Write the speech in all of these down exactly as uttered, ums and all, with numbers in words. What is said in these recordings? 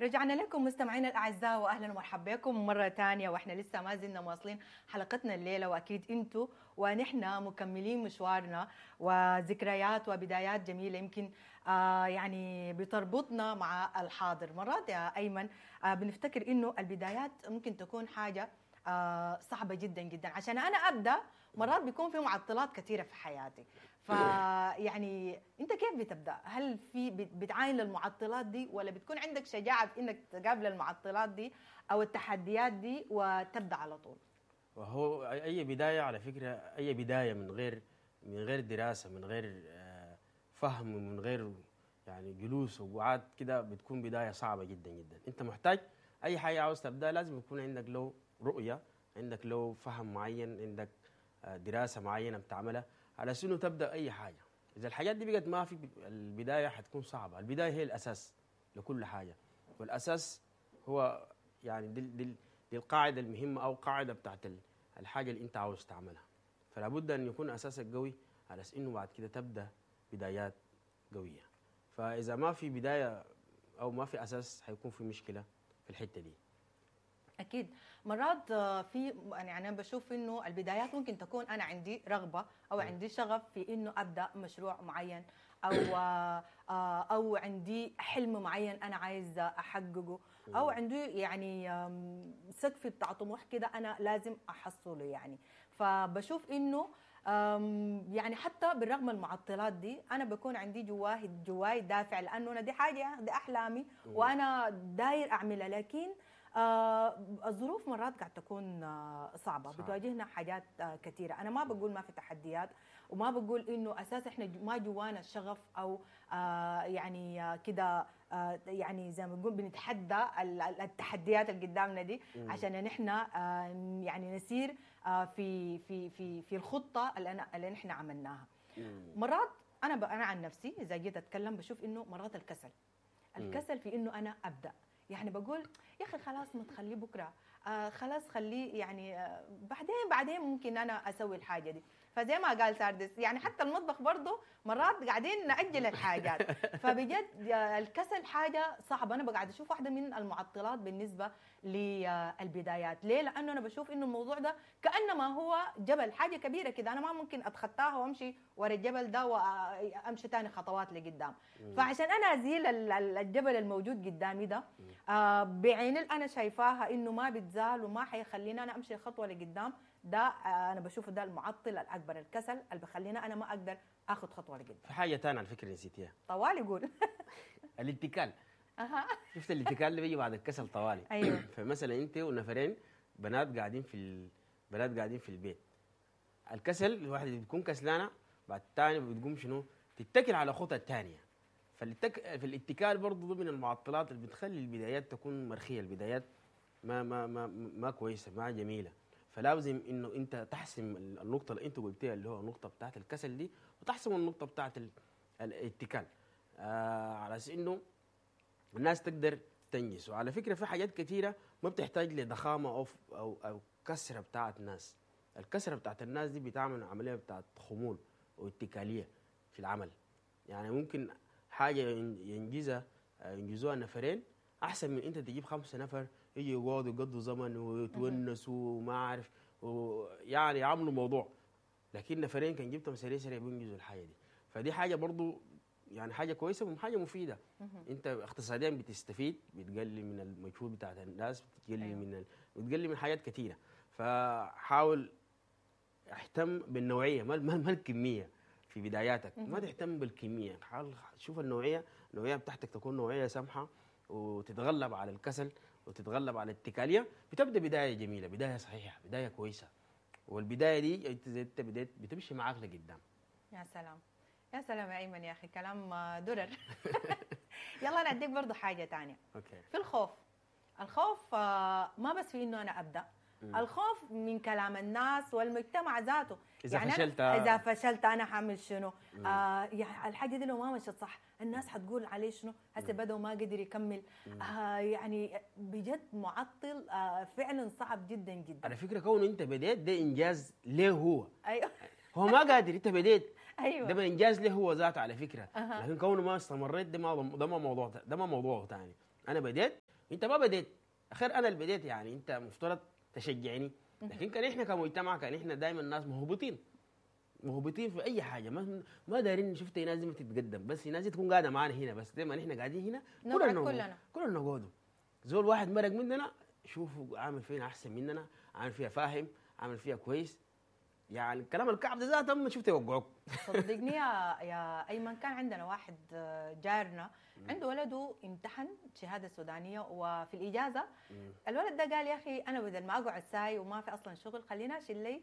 رجعنا لكم مستمعينا الاعزاء، واهلا ومرحبا بكم مرة ثانية، واحنا لسه ما زلنا مواصلين حلقتنا الليلة، واكيد انتم ونحن مكملين مشوارنا وذكريات وبدايات جميلة يمكن آه يعني بتربطنا مع الحاضر. مرات يا ايمن آه بنفتكر انه البدايات ممكن تكون حاجة آه صعبة جدا جدا، عشان انا ابدا مرات بيكون في معطلات كثيرة في حياتي. فيعني انت كيف بتبدا؟ هل في بتعاين للمعطلات دي، ولا بتكون عندك شجاعة في انك تقابل المعطلات دي او التحديات دي وتبدا على طول؟ وهو اي بداية على فكرة، اي بداية من غير من غير دراسة، من غير فهم، من غير يعني جلوس وقعاد كده، بتكون بداية صعبة جدا جدا. انت محتاج اي حاجة عاوز تبدا لازم يكون عندك لو رؤية، عندك لو فهم معين، عندك دراسة معينة بتعملها على سنة تبدا اي حاجة. اذا الحاجات دي بقت ما في، البداية حتكون صعبة. البداية هي الاساس لكل حاجة، والاساس هو يعني دي, دي, دي القاعدة المهمة او قاعدة بتاعت الحاجة اللي انت عاوز تعملها. فلا بد ان يكون اساسك قوي على انه بعد كده تبدا بدايات قوية. فاذا ما في بداية او ما في اساس حيكون في مشكلة في الحتة دي. اكيد مرات في يعني انا بشوف انه البدايات ممكن تكون انا عندي رغبة او عندي شغف في انه ابدا مشروع معين، او او عندي حلم معين انا عايز احققه، او عندي يعني سقف بتاع طموح كده انا لازم احصله يعني. فبشوف انه يعني حتى بالرغم من المعطلات دي انا بكون عندي جواه جواي دافع، لانه انا دي حاجة، دي احلامي وانا داير اعملها. لكن آه الظروف مرات قاعد تكون آه صعبة، صعب. بتواجهنا حاجات آه كثيرة. انا ما بقول ما في تحديات، وما بقول انه اساسا احنا ما جوانا الشغف او آه يعني آه كده آه يعني زي ما بنقول بنتحدى التحديات اللي قدامنا دي عشان نحن آه يعني نسير آه في في في في الخطة اللي انا اللي نحن عملناها. مرات انا انا عن نفسي اذا جيت اتكلم بشوف انه مرات الكسل الكسل في انه انا ابدا، يعني بقول يا اخي خلاص ما تخليه بكره، آه خلاص خليه يعني آه بعدين بعدين ممكن انا اسوي الحاجة دي. فزي ما قال ساردس يعني حتى المطبخ برضه مرات قاعدين نأجل الحاجات. فبجد الكسل حاجة صعبة. انا بقعد اشوف واحدة من المعطلات بالنسبة للبدايات. ليه؟ لانه انا بشوف انه الموضوع ده كانما هو جبل، حاجة كبيرة كده انا ما ممكن اتخطاها وامشي ورا الجبل ده وامشي ثاني خطوات لقدام. فعشان انا ازيل الجبل الموجود قدامي ده آه بعين اللي انا شايفاها انه ما بتزال وما حيخليني انا امشي خطوة لقدام، ده انا بشوفه ده المعطل الاكبر، الكسل اللي بخلينا انا ما اقدر اخذ خطوة لقدام. في حاجة ثانية على فكرة نسيتيها. طوالي قول. الاتكال. اها شفت الاتكال اللي بيجي بعد الكسل طوالي. ايوه. فمثلا انت ونفرين بنات قاعدين في ال... بنات قاعدين في البيت، الكسل الواحدة بتكون كسلانه، بعد الثانية بتقوم شنو؟ تتكل على خطى الثانية. فالاتك... في الاتكال برضه من المعطلات اللي بتخلي البدايات تكون مرخيه، البدايات ما ما ما ما كويسة، ما جميلة. فلازم انه انت تحسم النقطة اللي انت قلتيها اللي هو النقطة بتاعت الكسل دي، وتحسم النقطة بتاعت الاتكال، آه على اساس انه الناس تقدر تنجز. وعلى فكرة في حاجات كثيرة ما بتحتاج لضخامه او او او كسره بتاعت ناس. الكسرة بتاعت الناس دي بتعمل عملية بتاعت خمول واتكاليه في العمل. يعني ممكن حاجة ينجزها ينجزوها نفرين احسن من انت تجيب خمسة نفر يجي يقعدوا يقضوا زمن ويتونسوا وما عارف ويعني يعملوا موضوع، لكن نفرين كان جبتهم سريع سريع بينجزوا الحاجة دي. فدي حاجة برضو يعني حاجة كويسة وحاجه مفيدة. انت اقتصاديا بتستفيد، بتقلل من المجهود بتاعت الناس، بتقلل أيوه. من ال... بتقلل من حاجات كثيرة. فحاول اهتم بالنوعيه ما ما الكمية في بداياتك. ما تهتم بالكمية، حاول شوف النوعية، النوعية بتاعتك تكون نوعية سمحه وتتغلب على الكسل وتتغلب على الاتكاليه، بتبدا بداية جميلة، بداية صحيحه، بداية كويسة. والبداية دي انت زي انت بديت بتمشي معاك لقدام. يا سلام يا سلام يا ايمن يا اخي، كلام درر. يلا انا اديك برضه حاجة ثانية. okay. في الخوف، الخوف ما بس في انه انا ابدا، مم. الخوف من كلام الناس والمجتمع ذاته. إذا يعني فشلت أنا إذا فشلت أنا حعمل شنو؟ آه يعني الحاجة دي لو ما مشت صح الناس حتقول عليه شنو؟ هسه بدأ وما قدر يكمل. آه يعني بجد معطل، آه فعلا صعب جدا جدا. على فكرة كون أنت بديت ده إنجاز ليه هو؟ أيوه. هو ما قادر، أنت بديت. ايوه ده ما انجاز له هو ذاته على فكرة. أها. لكن كونه ما استمريت ده ما ده ما موضوع، ده ما موضوع ثاني. انا بديت انت ما بديت، اخير انا اللي بديت، يعني انت مفترض تشجعني. لكن كان احنا كمجتمع كان احنا دائما الناس مهبطين مهبطين في اي حاجة، ما ما دايرين. شفت ناس دي ما تتقدم، بس ناس دي تكون قاعدة معانا هنا، بس زي ما نحن قاعدين هنا نقعد كلنا كلنا نقعدوا. زول واحد مرق مننا شوفوا عامل فينا احسن مننا، عامل فيها فاهم، عامل فيها كويس، يعني الكلام الكعب ده ذاته ما شفته يوقعوك. صدقني يا يا ايمن، كان عندنا واحد جارنا عنده ولده امتحن شهادة سودانيه، وفي الاجازة الولد ده قال يا اخي انا بدل ما اقعد ساي وما في اصلا شغل، خلينا اشيل لي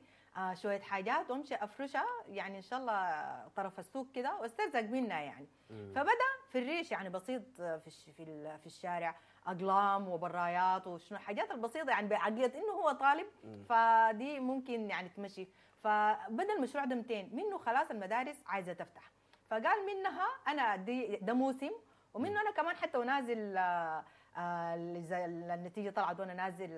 شوية حاجات وامشي افرشها يعني ان شاء الله طرف السوق كده واسترزق منها يعني. فبدا في الريش يعني بسيط في في الشارع، اقلام وبرايات وشنو الحاجات البسيطة يعني بعقلية انه هو طالب، فدي ممكن يعني تمشي. فبدا المشروع ده مئتين منه، خلاص المدارس عايزه تفتح، فقال منها انا دي ده موسم، ومنه انا كمان حتى ونازل اذا النتيجة طلعت وانا نازل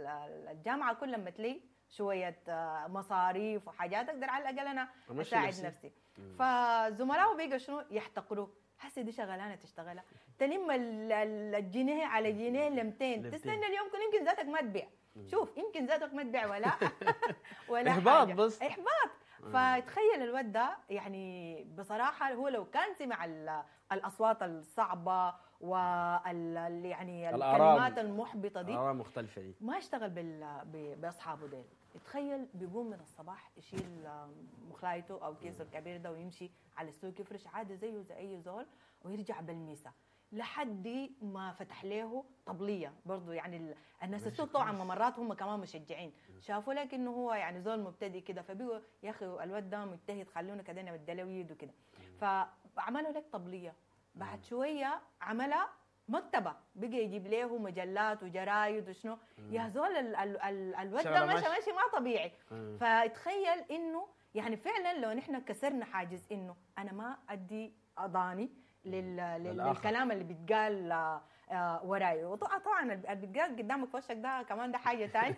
الجامعة كل لما تلي شوية مصاريف وحاجات اقدر على الاقل انا اساعد نفسي, نفسي. فزملائه بيقوا شنو يحتقروه، هسه دي شغلانة تشتغلها تلم الجنيه على جنيه لمتين، تستنى اليوم كل يمكن ذاتك ما تبيع، شوف يمكن ذاتك ما تبيع ولا ولا احباط، بس احباط. فتخيل الواد ده يعني بصراحة هو لو كان سمع الاصوات الصعبة وال يعني الكلمات المحبطه دي، الاراء مختلفة دي، ما اشتغل بال باصحابه ديل. تخيل بيقوم من الصباح يشيل مخلايته او كيسه الكبير ده ويمشي على السوق يفرش عادي زيه زي اي زول، ويرجع بالميسه لحد ما فتح له طبليه برضه. يعني الناس السوق طبعا مرات هم كمان مشجعين، شافوا لك انه هو يعني زول مبتدئ كده، فبيقولوا يا اخي الواد ده مجتهد خلونا كده نبدله يده كده، فعملوا لك طبليه. بعد شوية عملها مكتبه، بقى يجيب له مجلات وجرايد وشنو. يا زول الواد ده ماشي ماشي ما طبيعي. فتخيل انه يعني فعلا لو نحن كسرنا حاجز انه انا ما ادي اضاني لل... للكلام اللي بيتقال وراي، وطبعا اللي بيتقال قدامك في وشك ده كمان ده حاجة ثانية.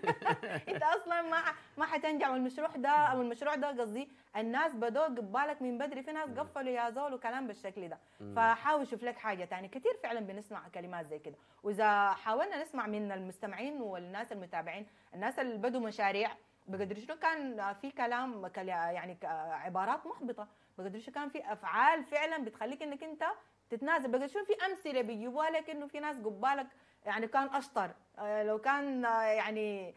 انت اصلا ما ما حتنجح، والمشروع ده او المشروع ده قصدي الناس بدوا قبالك من بدري، في ناس قفلوا يا زول وكلام بالشكل ده. فحاول شوف لك حاجة ثانية. كثير فعلا بنسمع كلمات زي كده، واذا حاولنا نسمع من المستمعين والناس المتابعين، الناس اللي بدوا مشاريع بقدر شنو كان في كلام يعني عبارات محبطة، بقدر شنو كان في افعال فعلا بتخليك انك انت تتنازل، بقدر شنو في امثلة بيجيبوها لك انه في ناس قبالك يعني كان اشطر، لو كان يعني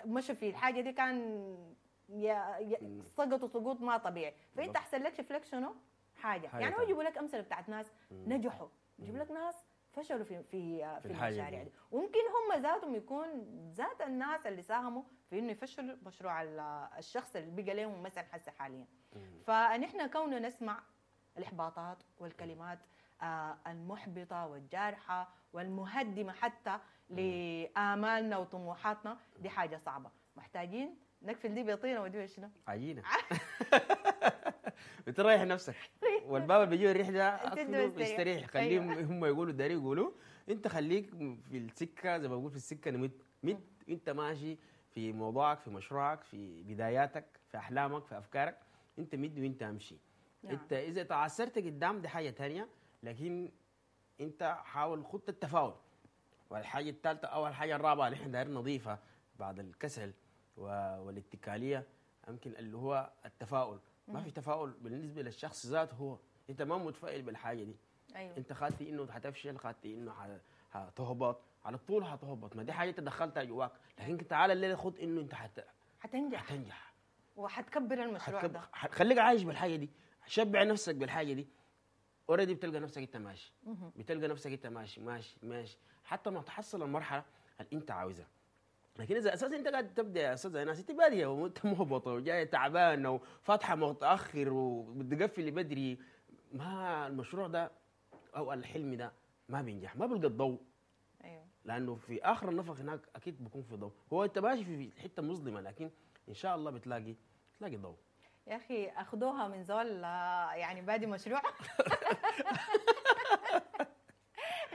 مشوا في الحاجة دي كان سقطوا سقوط ما طبيعي. فانت احسن لك شوف لك شنو حاجة, حاجة يعني هو يجيبوا لك امثلة بتاعت ناس نجحوا، يجيبوا لك ناس فشلوا في في في المشاريع دي، وممكن هم ذاتهم يكون ذات الناس اللي ساهموا في انه يفشلوا مشروع الشخص اللي بقى لهم مثلا حسه حاليا. فنحن كوننا نسمع الاحباطات والكلمات المحبطه والجارحه والمهدمه حتى لامالنا وطموحاتنا، دي حاجة صعبة، محتاجين نقفل دي بيطينه ودي شنو؟ عجينه. بتريح نفسك، والباب اللي بيجيب الريح ده بيستريح، خليهم هم يقولوا داري يقولوا، انت خليك في السكة زي ما بقول في السكة نمت مت، انت ماشي في موضوعك، في مشروعك، في بداياتك، في احلامك، في افكارك، انت مد وانت امشي. نعم. انت اذا تعثرت قدام دي حاجة ثانية، لكن انت حاول خط التفاؤل. والحاجة الثالثة او الحاجة الرابعة اللي احنا دايرين نضيفها بعد الكسل والاتكاليه يمكن اللي هو التفاؤل. ما في تفاؤل بالنسبة للشخص ذاته، هو انت ما متفائل بالحاجة دي. أيوة. انت خدتي انه حتفشل، خدتي انه حتهبط على طول، حتهبط، ما دي حاجة انت دخلتها جواك. لكن تعال الليلة خد انه انت حت... حتنجح حتنجح وحتكبر المشروع حتكب... ده، خليك عايش بالحاجة دي، شبع نفسك بالحاجة دي. already بتلقى نفسك انت ماشي، بتلقى نفسك انت ماشي ماشي ماشي حتى ما تحصل المرحلة اللي انت عاوزها. لكن اذا اساسا انت قاعد تبدا يا استاذ ناس، انت باديه وانت مهبطه وجاية تعبانة وفاتحه متاخر وبتقفل بدري، ما المشروع ده او الحلم ده ما بينجح، ما بيلقى الضوء. ايوه، لانه في اخر النفق هناك اكيد بيكون في ضوء. هو انت ماشي في حتة مظلمة، لكن ان شاء الله بتلاقي بتلاقي ضوء. يا اخي اخذوها من زول يعني بادي مشروع.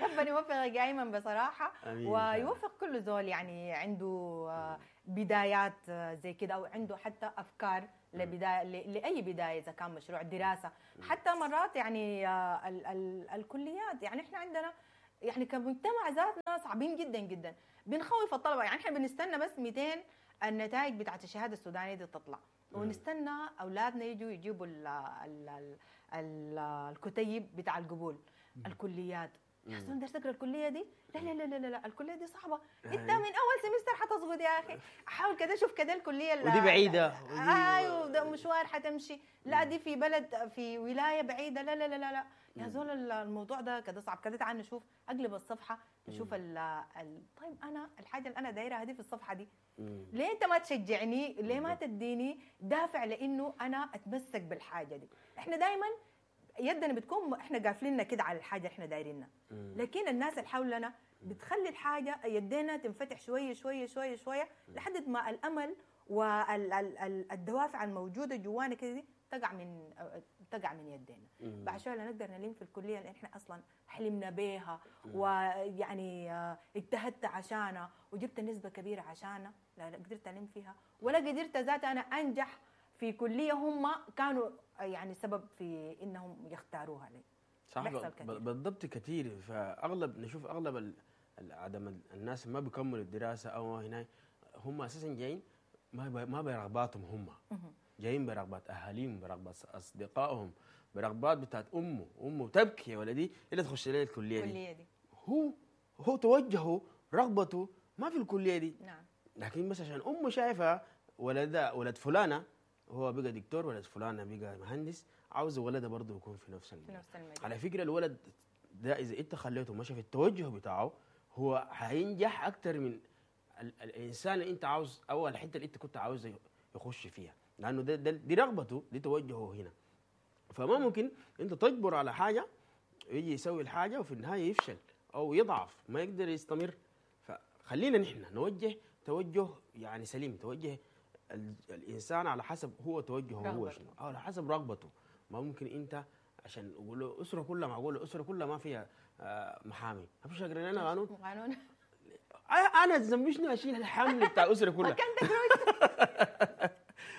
ربنا يوفقك يا ايمن بصراحة، ويوفق كل زول يعني عنده بدايات زي كده، او عنده حتى افكار لبداية لاي بداية، اذا كان مشروع دراسة، حتى مرات يعني ال ال الكليات. يعني احنا عندنا يعني كمجتمع ذاتنا صعبين جدا جدا، بنخوف الطلبة. يعني احنا بنستنى بس مئتين النتائج بتاعت الشهادة السودانية دي تطلع، ونستنى اولادنا يجوا يجيبوا ال ال ال ال الكتيب بتاع القبول الكليات. يا زول داير تقرا الكلية دي؟ لا لا لا لا لا الكلية دي صعبة، انت من اول semester حتسقط يا اخي، حاول كده شوف كده الكلية ودي بعيدة، ايوه ده مشوار حتمشي، لا دي في بلد في ولاية بعيدة، لا لا لا لا, لا. يا زول الموضوع ده كده صعب كده، تعال نشوف اقلب الصفحة نشوف ال ال طيب انا الحاجة اللي انا دايرها دي في الصفحة دي، ليه انت ما تشجعني؟ ليه ما تديني دافع لانه انا اتمسك بالحاجة دي؟ احنا دائما يدنا بتكون احنا قافليننا كده على الحاجة احنا دايرينها، لكن الناس اللي حولنا بتخلي الحاجة يدينا تنفتح شوية شوية شوية شوية لحد ما الامل والدوافع الموجودة جوانا كده دي تقع من تقع من يدينا. بعد شوية لا نقدر نلم في الكلية اللي احنا اصلا حلمنا بيها ويعني اجتهدت عشانها وجبت نسبه كبيرة عشانها، لا قدرت الم فيها ولا قدرت ذات انا انجح في كليه هم كانوا يعني سبب في انهم يختاروها لي. صح بالضبط كثير. فاغلب نشوف اغلب عدم الناس ما بيكملوا الدراسة او هنا هم اساسا جايين ما ما برغباتهم، هم جايين برغبات اهاليهم، برغبات اصدقائهم، برغبات بتاعت امه، امه تبكي يا ولدي الا تخش لي الكلية دي. الكلية دي هو هو توجهه رغبته ما في الكلية دي. نعم. لكن بس عشان امه شايفه ولد ولد فلانه هو بقى دكتور، ولد فلانه بقى مهندس، عاوز ولده برضه يكون في نفس المجال. في نفس المجال. على فكرة الولد ده اذا انت خليته مشى في التوجه بتاعه هو هينجح اكثر من ال الانسان اللي انت عاوز او الحتة اللي انت كنت عاوز يخش فيها، لانه ده, ده دي رغبته، دي توجهه هنا. فما ممكن انت تجبر على حاجة يجي يسوي الحاجة وفي النهاية يفشل او يضعف ما يقدر يستمر. فخلينا نحن نوجه توجه يعني سليم، توجه الانسان على حسب هو توجهه هو شنو، او على حسب رغبته. ما ممكن انت عشان اقول له اسره كلها، معقول الاسرة كلها ما فيها محامي، ما فيش اقرا لنا قانون قانون انا ذنبي شنو اشيل الحمل بتاع الاسرة كلها؟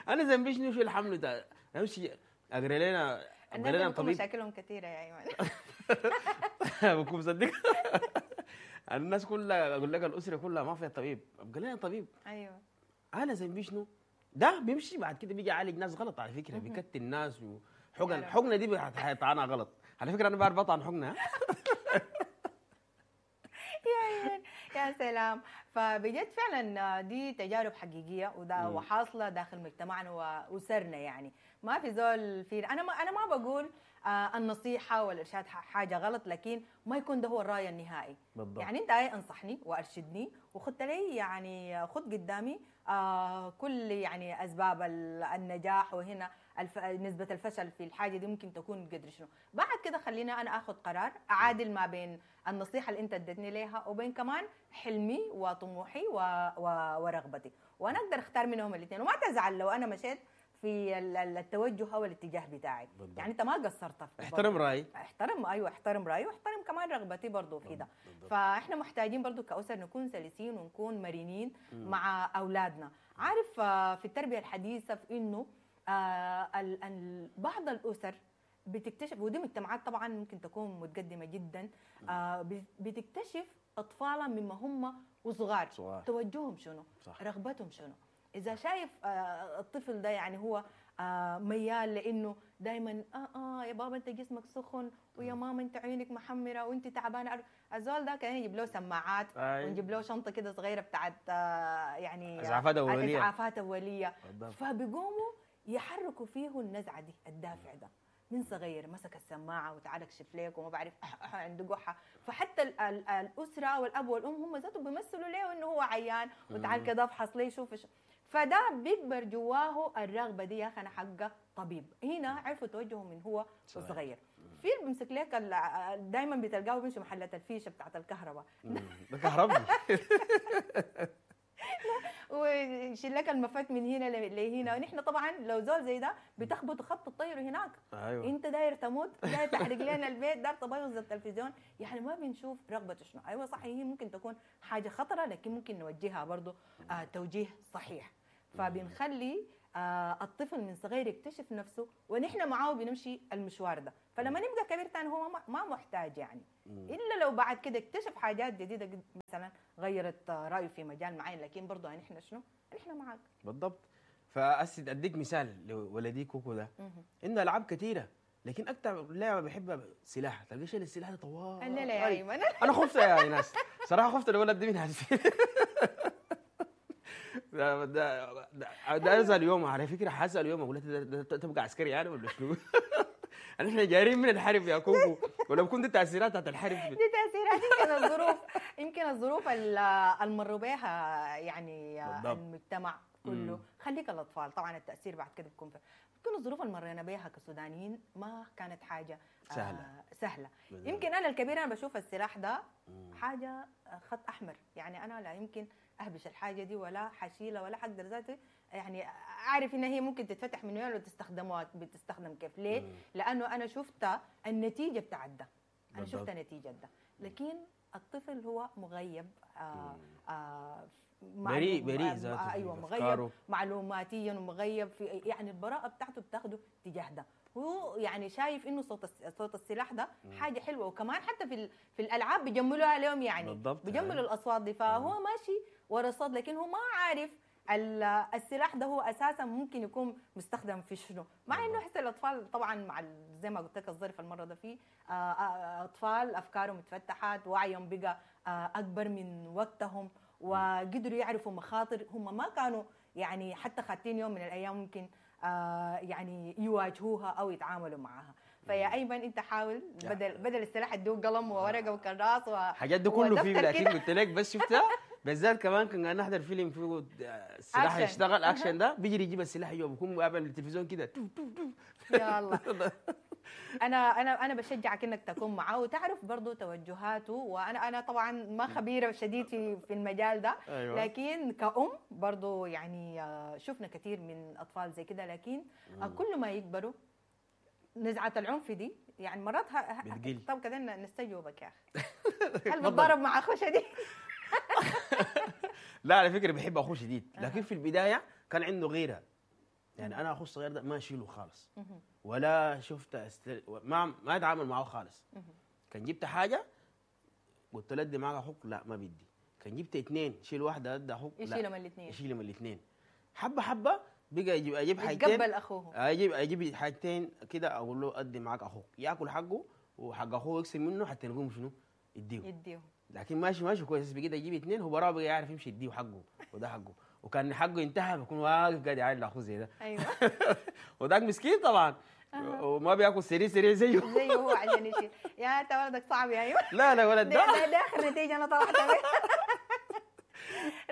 انا ذنبي شنو اشيل الحمل بتاع امشي اقرا لنا اقرا لنا طبيب. مشاكلهم كثيرة يا ايمن. بكون مصدق. الناس كلها اقول لك الاسرة كلها ما فيها طبيب، ابقى لنا طبيب. ايوه انا ذنبي شنو؟ ده بيمشي بعد كده بيجي يعالج ناس غلط على فكرة، بيكتل ناس وحقن حقنه دي حيطعنها غلط على فكرة، انا بعرف اطعن حقنه. يا يا سلام. فبجد فعلا دي تجارب حقيقية وده وحاصله داخل مجتمعنا واسرنا، يعني ما في زول في انا ما انا ما بقول آه النصيحة والارشاد حاجة غلط، لكن ما يكون ده هو الراي النهائي. بالضبط. يعني انت اي انصحني وارشدني وخدت لي يعني خد قدامي آه كل يعني اسباب النجاح، وهنا الف... نسبه الفشل في الحاجة دي ممكن تكون قدر شنو. بعد كده خلينا انا اخذ قرار اعادل ما بين النصيحة اللي انت اديتني ليها وبين كمان حلمي وطموحي و... و... ورغبتي، وانا اقدر اختار منهم الاثنين. وما تزعل لو انا مشيت في التوجه او الاتجاه بتاعي. بالضبط. يعني انت ما قصرت في احترم رايي، احترم ايوه احترم رايي واحترم كمان رغبتي برضه في ده. فاحنا محتاجين برضه كأسر نكون سلسين ونكون مرنين مم. مع اولادنا. عارف في التربية الحديثة في انه آه بعض الاسر بتكتشف، ودي مجتمعات طبعا ممكن تكون متقدمة جدا، آه بتكتشف اطفالها مما هم وصغار توجههم شنو، صح. رغبتهم شنو. اذا شايف آه الطفل ده يعني هو آه ميال لانه دائما اه اه يا بابا انت جسمك سخن، ويا ماما انت عيونك محمرة وانت تعبانة، الزول ده كان يجيب له سماعات ونجيب له شنطه كده صغيرة بتاعت آه يعني اسعافات اوليه، اسعافات اوليه. فبيقوموا يحركوا فيه النزعة دي، الدافع ده من صغير، مسك السماعة وتعال اكشف لك وما بعرف عنده قحه. فحتى ال ال الاسرة والاب والام هم ذاتهم بيمثلوا له انه هو عيان وتعال كده افحص لي شوف. فده بيكبر جواه الرغبة دي، يا اخي انا حقه طبيب. هنا عرفوا توجهه من هو صغير. في اللي بيمسك لك دايما بتلقاه بيمشي محلات الفيشه بتاعت الكهرباء ده كهربي ويشيل لك المفك من هنا لهنا. ونحن طبعا لو زول زي ده بتخبط خبط الطير هناك. أيوة. انت داير تموت، داير تحرق لنا البيت، داير تبوظ التلفزيون، يعني ما بنشوف رغبته شنو. ايوه صح، هي ممكن تكون حاجة خطره لكن ممكن نوجهها برضه آه توجيه صحيح. فبنخلي آه الطفل من صغير يكتشف نفسه، ونحن معاه بنمشي المشوار ده. فلما يبقى كبير تاني هو ما- ما محتاج يعني، مم. الا لو بعد كده اكتشف حاجات جديدة قد- مثلا غيرت رايه في مجال معين، لكن برضه نحن شنو؟ نحن معك. بالضبط. فأسد اديك مثال لولدي كوكو ده، عنده العاب كثيرة، لكن اكثر لعبه بحبها سلاح، تلقى شايل السلاح ده طوال. لا لا يا ايمن انا خفت يا ناس صراحة، خفت الولد ده من هسه. ده ده ده, ده اسال يوم على فكرة، حاسال يوم اقول له ده- ده- ده تبقى عسكري يعني ولا شنو؟ احنا جايين من الحرب يا كوكو، ولا بكون دي تاثيرات بتاعت الحرب؟ دي تاثيرات يمكن الظروف، يمكن الظروف ال- المروا بها يعني بالضبط. المجتمع كله. مم. خليك الاطفال طبعا التاثير بعد كده بيكون في، يمكن الظروف اللي مرينا بها كسودانيين ما كانت حاجة آه، سهلة. سهلة. بالضبط. يمكن انا الكبير انا بشوف السلاح ده مم. حاجة خط احمر، يعني انا لا يمكن اهبش الحاجة دي ولا حشيله ولا حقدر ذاتي يعني اعرف ان هي ممكن تتفتح من وين وتستخدمها بتستخدم كيف. ليه؟ مم. لانه انا شفت النتيجة بتاعت ده، انا بالضبط. شفت نتيجة ده، لكن الطفل هو مغيب، آه آه بريء- معلوم- بريء آه، ذاته في ايوه مغيب أفكاره. معلوماتيا ومغيب في يعني البراءة بتاعته بتاخده تجاه ده، هو يعني شايف انه صوت الس- صوت السلاح ده حاجة حلوة، وكمان حتى في ال- في الالعاب بيجملوها لهم يعني بالضبط. بيجملوا الاصوات دي، فهو ماشي ورا الصوت لكن هو ما عارف ال- السلاح ده هو اساسا ممكن يكون مستخدم في شنو، مع انه حس الاطفال طبعا مع ال- زي ما قلت لك الظرف المرة ده فيه آه، آه، اطفال افكارهم اتفتحت، وعيهم بقى آه، اكبر من وقتهم، وقدروا يعرفوا مخاطر هم ما كانوا يعني حتى خاتين يوم من الايام ممكن آه، يعني يواجهوها او يتعاملوا معها. فيا ايمن انت حاول بدل بدل السلاح ادوه قلم وورقة وكراس و حاجات ده كله فيه، ودفتر لكن كده. قلت لك بس شفتها بالذات كمان كنا نحضر فيلم فيه السلاح أكشن. يشتغل اكشن، ده بيجري يجيب السلاح جوا بيكون مقابل التلفزيون كده توف توف توف. يا الله انا انا انا بشجعك انك تكون معاه وتعرف برضه توجهاته، وانا انا طبعا ما خبيرة شديد في في المجال ده، أيوة. لكن كأم برضه يعني آه، شفنا كثير من اطفال زي كده، لكن آه، كل ما يكبروا نزعه العنف دي يعني مرات ه- ه- بتقل. طب كده نستجوبك يا اخي، هل بتضارب مع اخوشه دي؟ لا على فكرة بحب اخوه شديد، لكن في البداية كان عنده غيره، يعني انا اخوه الصغير ده ما اشيله خالص ولا شفت أستل... ما ما اتعامل معه خالص. كان جبت حاجة قلت له ادي معك اخوك، لا ما بدي. كان جبت اثنين شيل واحدة ادي اخوك، لا يشيلهم الاثنين، يشيلهم الاثنين. حبه حبه بقى يجيب اجيب حاجتين، يتقبل اخوه، اجيب اجيب حاجتين كده اقول له ادي معاك اخوك، ياكل حقه وحق اخوه يقسم منه حتى نقوم شنو يديه، يديه. لكن ماشي ماشي كويس. بقيت اجيب اثنين هو براه بقى يعرف يمشي يديه حقه وده حقه، وكان حقه ينتهى بيكون واقف قاعد يعاين لاخوه زي ده. ايوه وذاك مسكين طبعا وما بياكل سريع سريع زيه زيه هو عشان يشيل. يا انت ولدك صعب يا ايمن. لا لا ولد ده ده ده, ده اخر نتيجة انا طلعت بيها.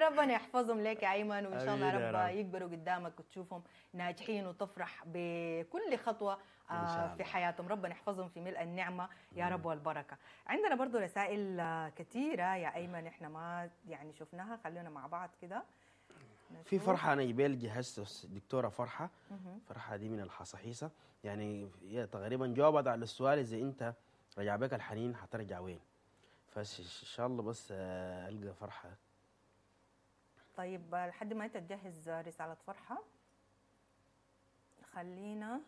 ربنا يحفظهم لك يا ايمن، وان شاء الله آمين يا رب رب. يكبروا قدامك وتشوفهم ناجحين وتفرح بكل خطوة إن شاء آه، في الله. حياتهم. ربنا يحفظهم في ملء النعمة يا رب والبركة. عندنا برضو رسائل آه، كثيرة يا ايمن احنا ما يعني شفناها، خلونا مع بعض كده في نشوف. فرحه انا جبال جهزت دكتورة فرحه، مهم. فرحه دي من الحصاحيصه، يعني هي تقريبا جاوبت على السؤال اذا انت رجع بك الحنين حترجع وين، فان شاء الله بس آه، القى فرحه. طيب لحد ما انت تجهز رسالة فرحة خلينا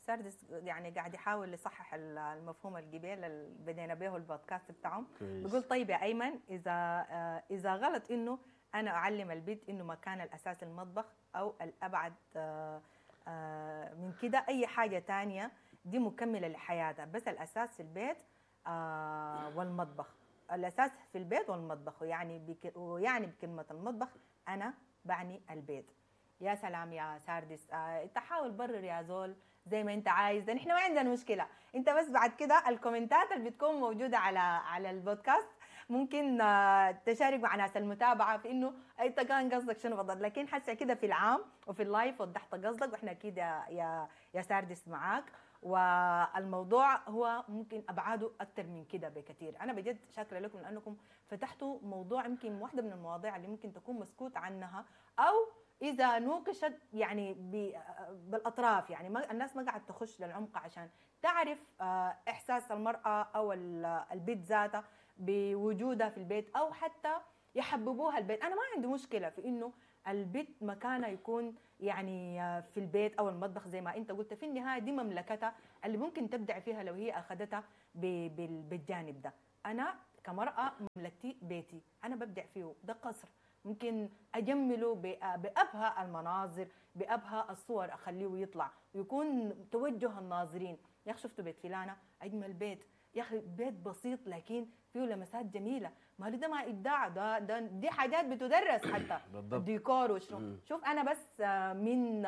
ساردس يعني قاعد يحاول يصحح المفهوم القبيل اللي بدينا به البودكاست بتاعهم. كويس. بيقول طيب يا ايمن اذا آه، اذا غلط انه انا اعلم البيت انه مكان الاساس المطبخ او الابعد آه، آه، من كده اي حاجة تانية دي مكملة لحياتها، بس الاساس في البيت آه، والمطبخ، الاساس في البيت والمطبخ، ويعني بك ويعني بكلمه المطبخ انا بعني البيت. يا سلام يا ساردس، آه، انت حاول برر يا زول زي ما انت عايز، ده نحن ما عندنا مشكلة، انت بس بعد كده الكومنتات اللي بتكون موجودة على على البودكاست ممكن آه، تشارك مع ناس المتابعة في انه انت كان قصدك شنو بالضبط، لكن حاسه كده في العام وفي ال live وضحت قصدك، واحنا اكيد يا يا, يا ساردس معاك، والموضوع هو ممكن ابعاده اكثر من كده بكثير. انا بجد شاكرة لكم لانكم فتحتوا موضوع يمكن واحدة من المواضيع اللي ممكن تكون مسكوت عنها او اذا نوقشت يعني بالاطراف، يعني ما الناس ما قاعد تخش للعمق عشان تعرف احساس المراة او البيت ذاتها بوجودها في البيت او حتى يحببوها البيت. انا ما عندي مشكلة في انه البيت مكانها يكون يعني في البيت او المطبخ زي ما انت قلت. في النهاية دي مملكتها اللي ممكن تبدع فيها لو هي اخذتها بالجانب ده. انا كمراه مملكتي بيتي، انا ببدع فيه، ده قصر ممكن اجمله بابهى المناظر، بابهى الصور، اخليه يطلع ويكون توجه الناظرين، يا اخي شفتوا بيت فلانه اجمل بيت، يا اخي بيت بسيط لكن فيه لمسات جميلة. ما ده ما ابداع، ده, ده دي حاجات بتدرس حتى بالضبط. ديكور وشنو. شوف انا بس من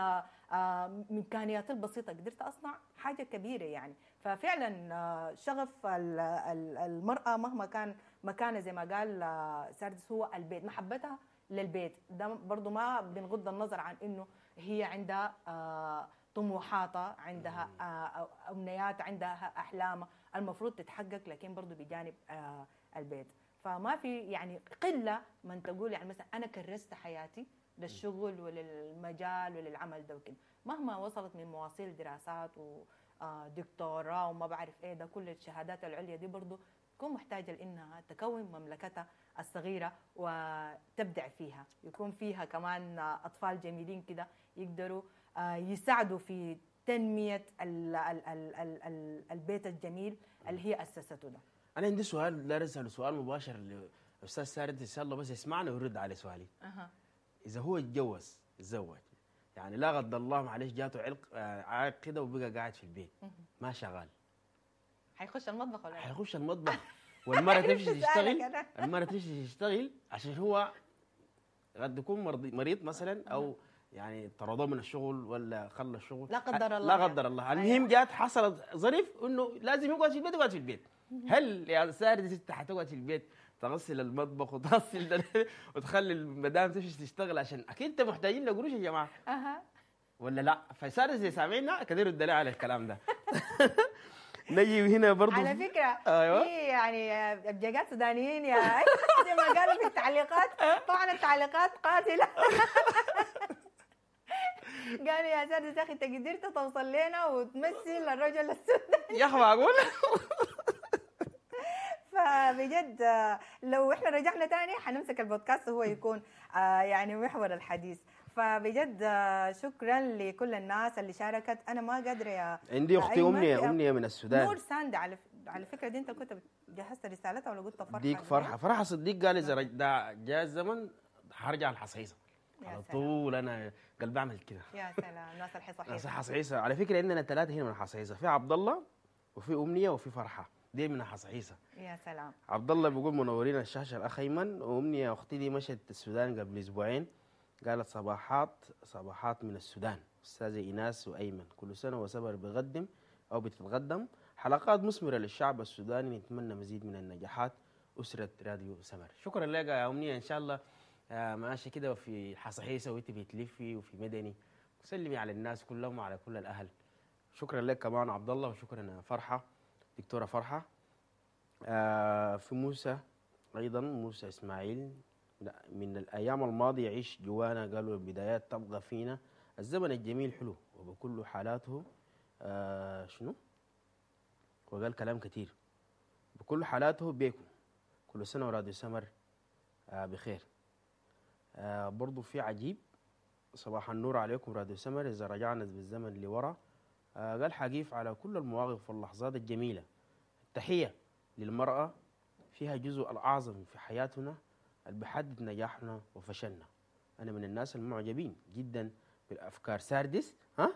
امكانياتي البسيطة قدرت اصنع حاجة كبيرة يعني. ففعلا شغف المراة مهما كان مكانه زي ما قال ساردس هو البيت، محبتها للبيت ده برضو ما بنغض النظر عن انه هي عندها طموحاتها، عندها امنيات، عندها احلام المفروض تتحقق، لكن برضو بجانب البيت. فما في يعني قلة من تقول يعني مثلا انا كرست حياتي للشغل وللمجال وللعمل ده وكده، مهما وصلت من مواصيل دراسات ودكتوراه وما بعرف ايه ده، كل الشهادات العليا دي برضو تكون محتاجه لانها تكون مملكتها الصغيرة وتبدع فيها، يكون فيها كمان اطفال جميلين كده يقدروا يساعدوا في تنمية ال ال ال ال ال البيت الجميل اللي هي اسسته ده. انا عندي سؤال، لا اسال سؤال مباشر للاستاذ سارد، ان شاء الله بس يسمعنا ويرد على سؤالي. أه. اذا هو اتجوز تزوج يعني لا قدر الله معلش جاته علق عائق كده وبقى قاعد في البيت ما شغال، حيخش المطبخ ولا حيخش المطبخ والمرة تمشي تشتغل، المرة تمشي تشتغل عشان هو قد يكون مريض مثلا او يعني طردوه من الشغل ولا خلى الشغل لا قدر الله، لا قدر الله. المهم جات حصلت ظرف انه لازم يقعد في البيت، يقعد في البيت. هل يا سارد انت حتقعد في البيت تغسل المطبخ وتغسل وتخلي المدام تمشي تشتغل عشان اكيد انت محتاجين لقروش يا جماعة اها ولا لا؟ فسارد زي سامعينا كثير الدليل على الكلام ده. نجي هنا برضو على فكرة. أيوة. في يعني ابجاجات سودانيين يا زي ما قالوا في التعليقات، طبعا التعليقات قاتله. قالوا يا سارد يا اخي انت قدرت توصل لنا وتمثل الرجل السوداني يا اخي معقول؟ فبجد لو احنا رجعنا تاني حنمسك البودكاست وهو يكون يعني محور الحديث. فبجد شكرا لكل الناس اللي شاركت. انا ما قادرة يا عندي اختي امنية، امنية من السودان، نور ساند. على على فكرة دي انت كنت جهزت رسالتها ولا قلت فرحه؟ ديك فرحه، فرحه صديق قال اذا جاء الزمن حرجع الحصيصه على طول. انا قلبي اعمل كده. يا سلام، ناس الحصاحيصه، ناس الحصاحيصا. على فكرة عندنا ثلاثة هنا من الحصاحيصا، في عبد الله وفي امنية وفي فرحه، دي من الحصاحيصا. يا سلام. عبد الله بيقول منورين الشاشة الاخ ايمن، وامنيه اختي دي مشت السودان قبل اسبوعين، قالت صباحات صباحات من السودان استاذه ايناس وايمن، كل سنة وسبر بقدم او بتتقدم حلقات مثمرة للشعب السوداني، نتمنى مزيد من النجاحات اسره راديو سمر. شكرا لك يا امنية، ان شاء الله ماشية كده وفي حصحيصه وانت بتلفي وفي مدني، سلمي على الناس كلهم وعلى كل الاهل. شكرا لك كمان عبد الله، وشكرا فرحه دكتورة فرحه. آه في موسى ايضا، موسى اسماعيل، من الايام الماضية يعيش جوانا، قالوا البدايات تبقى فينا، الزمن الجميل حلو وبكل حالاته. آه شنو؟ وقال كلام كثير، بكل حالاته بيكم، كل سنة وراديو سمر آه بخير. آه برضو في عجيب، صباح النور عليكم راديو سمر، إذا رجعنا بالزمن لورا. آه قال حقيف على كل المواقف واللحظات الجميلة. التحية للمرأة فيها جزء الأعظم في حياتنا اللي بحدد نجاحنا وفشلنا. أنا من الناس المعجبين جدا بالأفكار ساردس، ها؟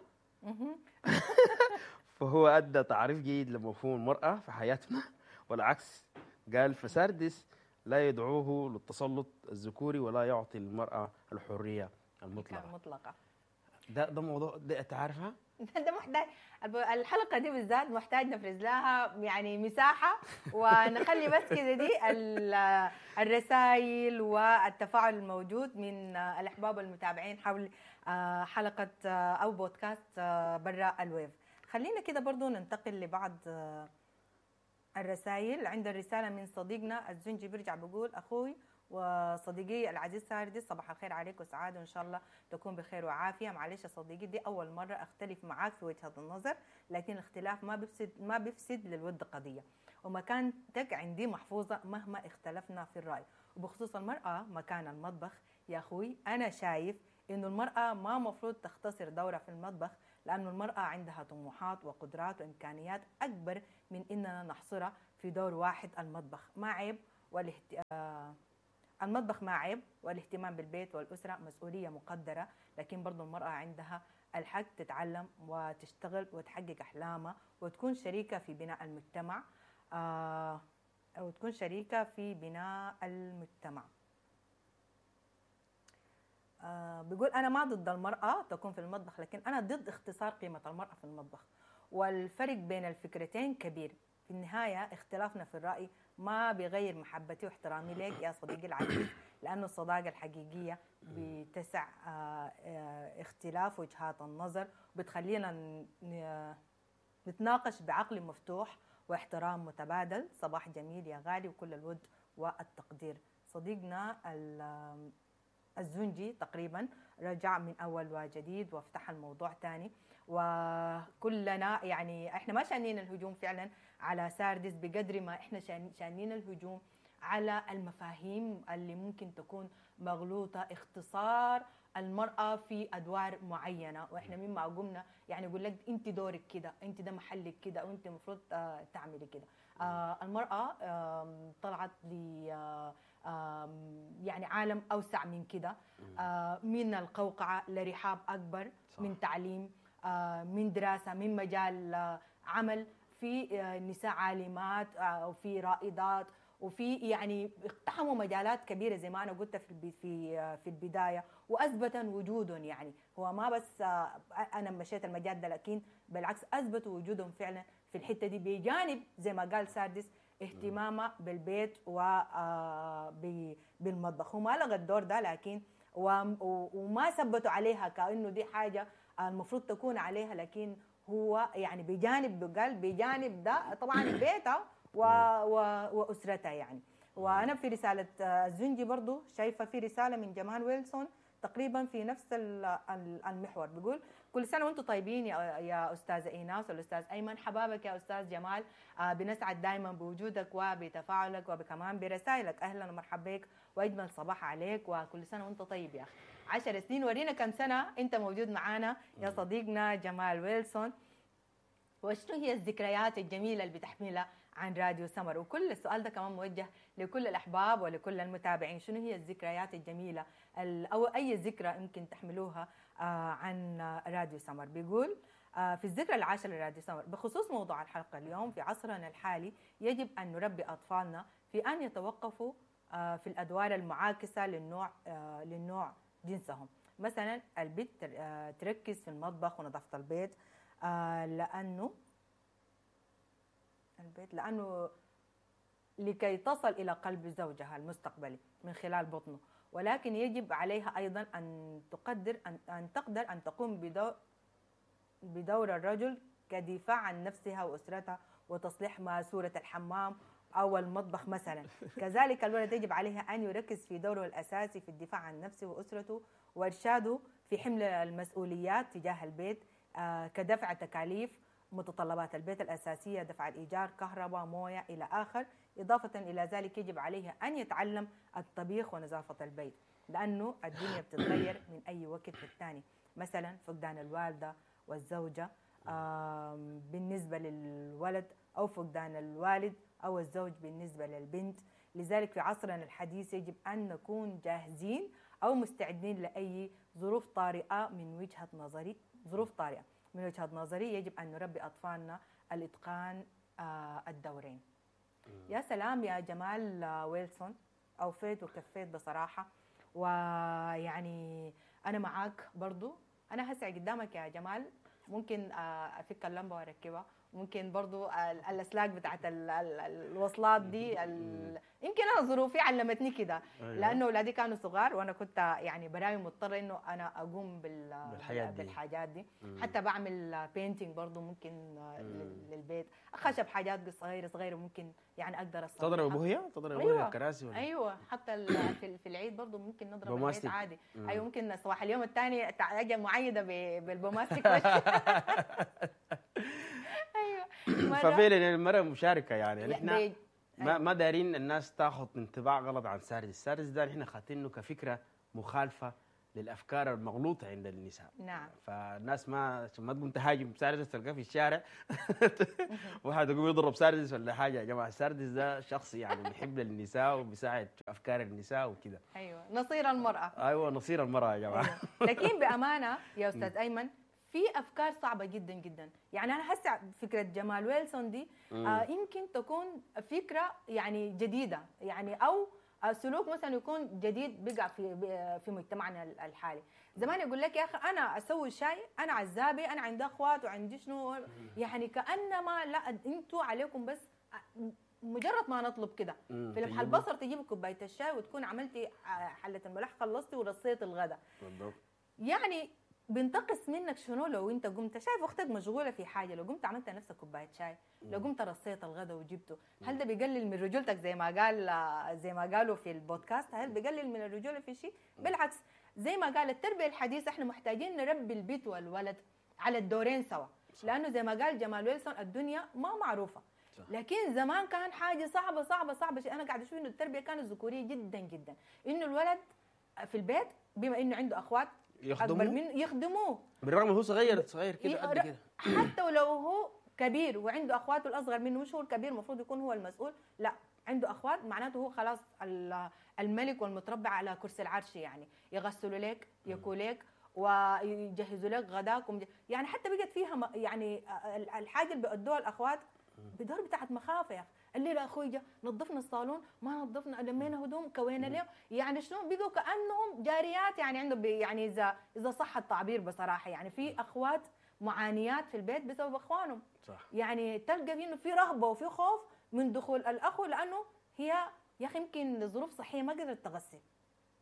فهو أدى تعريف جيد لمفهوم المرأة في حياتنا والعكس. قال فساردس لا يدعوه للتسلط الذكوري ولا يعطي المرأة الحرية المطلقة. المطلقة. ده ده موضوع ده تعرفها؟ ده محتاج الحلقة دي بالذات محتاج نفرز لها يعني مساحة ونخلي بس كده دي الرسائل والتفاعل الموجود من الأحباب والمتابعين حول حلقة أو بودكاست برا ال wave. خلينا كده برضو ننتقل لبعض الرسائل. عند الرسالة من صديقنا الزنجي، بيرجع بقول أخوي وصديقي العزيز ساردي، صباح الخير عليك وسعادة وإن شاء الله تكون بخير وعافية. معلش يا صديقي، دي أول مرة أختلف معاك في وجهة النظر، لكن الاختلاف ما بيفسد ما بيفسد للود قضية، ومكانتك عندي محفوظة مهما اختلفنا في الرأي. وبخصوص المرأة، مكان المطبخ يا اخوي انا شايف انه المراة ما مفروض تختصر دورها في المطبخ، لانه المراة عندها طموحات وقدرات وامكانيات اكبر من اننا نحصرها في دور واحد. المطبخ ما عيب والاهت... آه المطبخ ما عيب، والاهتمام بالبيت والأسرة مسؤولية مقدرة، لكن برضو المرأة عندها الحق تتعلم وتشتغل وتحقق أحلامها وتكون شريكة في بناء المجتمع، آه وتكون شريكة في بناء المجتمع. آه بيقول أنا ما ضد المرأة تكون في المطبخ، لكن أنا ضد اختصار قيمة المرأة في المطبخ، والفرق بين الفكرتين كبير. في النهاية اختلافنا في الرأي ما بيغير محبتي واحترامي لك يا صديقي العزيز، لأنه الصداقة الحقيقية بتسع آه، آه، اختلاف وجهات النظر، بتخلينا ن- نتناقش بعقل مفتوح واحترام متبادل. صباح جميل يا غالي وكل الود والتقدير. صديقنا ال- الزنجي تقريبا رجع من أول وجديد وفتح الموضوع تاني، وكلنا يعني احنا ما شانين الهجوم فعلا على ساردس بقدر ما احنا شان- شانين الهجوم على المفاهيم اللي ممكن تكون مغلوطة، اختصار المرأة في أدوار معينة، وإحنا مما قمنا يعني يقول لك أنت دورك كده، أنت ده محلك كده، وأنت المفروض آه، تعملي كده. آه، المرأة آم، طلعت ل آه، آم، يعني عالم أوسع من كده، آه، من القوقعة لرحاب أكبر، صح. من تعليم، آه، من دراسة، من مجال آه، عمل، في آه، نساء عالمات، آه، وفي رائدات، وفي يعني اقتحموا مجالات كبيرة زي ما انا قلت في البي- في آه، في البداية، واثبتوا وجودهم. يعني هو ما بس آه، انا مشيت المجال ده، لكن بالعكس اثبتوا وجودهم فعلا في الحتة دي، بجانب زي ما قال ساردس اهتمامه بالبيت وبالمطبخ. هو ما لغى الدور ده، لكن و- و- وما ثبتوا عليها كانه دي حاجة المفروض تكون عليها، لكن هو يعني بجانب، قال بجانب ده طبعا بيته و و واسرته يعني. وانا في رسالة آه، الزنجي برضو شايفه في رسالة من جمال ويلسون تقريبا في نفس ال- ال- المحور، بيقول كل سنة وانتم طيبين يا يا استاذه ايناس والاستاذ ايمن، حبابك يا استاذ جمال، آه، بنسعد دائما بوجودك وبتفاعلك وكمان برسائلك. اهلا ومرحبا بك واجمل صباح عليك، وكل سنة وانت طيب يا اخي. عشر سنين، ورينا كم سنة انت موجود معانا يا صديقنا جمال ويلسون، وشنو هي الذكريات الجميلة اللي بتحملها عن راديو سمر؟ وكل السؤال ده كمان موجه لكل الأحباب ولكل المتابعين، شنو هي الذكريات الجميلة ال- أو أي ذكرى يمكن تحملوها آه، عن راديو سمر؟ بيقول آه، في الذكرى العاشرة لراديو سمر، بخصوص موضوع الحلقة اليوم، في عصرنا الحالي يجب أن نربي أطفالنا في أن يتوقفوا آه، في الأدوار المعاكسة للنوع آه، للنوع جنسهم. مثلا البنت تر- آه، تركز في المطبخ ونظافة البيت، آه، لأنه البيت لأنه لكي تصل إلى قلب زوجها المستقبلي من خلال بطنه، ولكن يجب عليها أيضا أن تقدر أن, أن تقدر أن تقوم بدور بدور الرجل كدفاع عن نفسها وأسرتها وتصليح ماسورة الحمام أو المطبخ مثلا. كذلك الولد يجب عليها أن يركز في دوره الأساسي في الدفاع عن نفسه وأسرته وإرشاده في حمل المسؤوليات تجاه البيت، آه، كدفع تكاليف متطلبات البيت الأساسية، دفع الإيجار، كهرباء، موية إلى آخر. إضافة إلى ذلك يجب عليه أن يتعلم الطبيخ ونظافة البيت، لأنه الدنيا بتتغير من أي وقت للتاني. مثلا فقدان الوالدة والزوجة آم، بالنسبة للولد، أو فقدان الوالد أو الزوج بالنسبة للبنت. لذلك في عصرنا الحديث يجب أن نكون جاهزين أو مستعدين لأي ظروف طارئة. من وجهة نظري ظروف طارئة من وجهة نظري يجب أن نربي أطفالنا الإتقان آه، الدورين. يا سلام يا جمال آه، ويلسون، أوفيت وكفيت بصراحة، ويعني أنا معاك برضو. أنا هسع قدامك يا جمال، ممكن آه، أفك اللمبة وأركبها، ممكن برضو ال- الأسلاك بتاعت ال- ال- الوصلات دي ال... يمكن أنا ظروفي علمتني كده، أيوة. لأنه أولادي كانوا صغار وأنا كنت يعني براي مضطرة إنه أنا أقوم بال... بالحاجات دي. بالحاجات دي. مم. حتى بعمل painting برضو ممكن آه، لل- للبيت، خشب حاجات صغيرة صغيرة ممكن يعني أقدر أصلحها. تضرب بوهيه تضرب بوهيه أيوة. الكراسي ولا ايوه، حتى ال- في في العيد برضه ممكن نضرب البيت بوماستيك. عادي. مم. ايوه، ممكن صباح اليوم الثاني اجي معيده ب- بالبوماستيك. ايوه مرة- ففعلا المرأة مشاركة يعني يا- نحن بي- ما ما دارين الناس تاخذ انطباع غلط عن ساردس. ساردس ده نحن خاتينه كفكرة مخالفة للافكار المغلوطة عند النساء. نعم. فالناس ما عشان ما تقوم تهاجم ساردس تلقاه في الشارع واحد يقوم يضرب ساردس ولا حاجة. يا جماعة ساردس ده شخص يعني بيحب النساء وبيساعد في افكار النساء وكده. ايوه، نصير المراة. ايوه، نصير المراة يا جماعة. أيوة. لكن بامانه يا استاذ ايمن في افكار صعبة جدا جدا، يعني انا هسه فكرة جمال ويلسون دي آه يمكن تكون فكرة يعني جديدة، يعني او سلوك مثلا يكون جديد بقع في في مجتمعنا الحالي. زمان يقول لك يا اخي انا اسوي شاي، انا عزابي، انا عندي اخوات وعندي شنو، يعني كانما لا انتوا عليكم بس مجرد ما نطلب كده في لمح البصر تجيب كوباية الشاي وتكون عملتي حله الملح، خلصتي ورصيتي الغداء. بالضبط. يعني بنتقص منك شنو لو انت قمت شايف اختك مشغولة في حاجة، لو قمت عملت نفسك كوباية شاي، لو قمت رصيت الغداء وجبته، هل ده بيقلل من رجولتك زي ما قال زي ما قالوا في البودكاست؟ هل بيقلل من الرجولة في شيء؟ بالعكس، زي ما قال التربية الحديثة احنا محتاجين نربي البيت والولد على الدورين سوا، لانه زي ما قال جمال ويلسون الدنيا ما معروفة. صح. لكن زمان كان حاجة صعبة صعبة صعبة شيء. انا قاعدة اشوف انه التربية كانت ذكوريه جدا جدا، انه الولد في البيت بما انه عنده اخوات يخدموه، من يخدموه بالرغم هو صغير صغير كده قد كده، حتى ولو هو كبير وعنده اخواته الاصغر منه، مش هو الكبير المفروض يكون هو المسؤول، لا عنده اخوات معناته هو خلاص الملك والمتربع على كرسي العرش، يعني يغسلوا لك، يكوا لك، ويجهزوا لك غداك، يعني حتى بقت فيها يعني الحاجة اللي بيأدوها الاخوات بدور بتاعت مخافة. يا اخي الليلة اخوي جا نظفنا الصالون، ما نظفنا، لمينا هدوم، كوينا اليوم، يعني شنو بقوا كانهم جاريات، يعني عندهم يعني اذا اذا صح التعبير بصراحة، يعني في اخوات معانيات في البيت بسبب اخوانهم. صح. يعني تلقى انه في رهبة وفي خوف من دخول الاخو، لانه هي يا اخي يمكن لظروف صحية ما قدرت تغسل،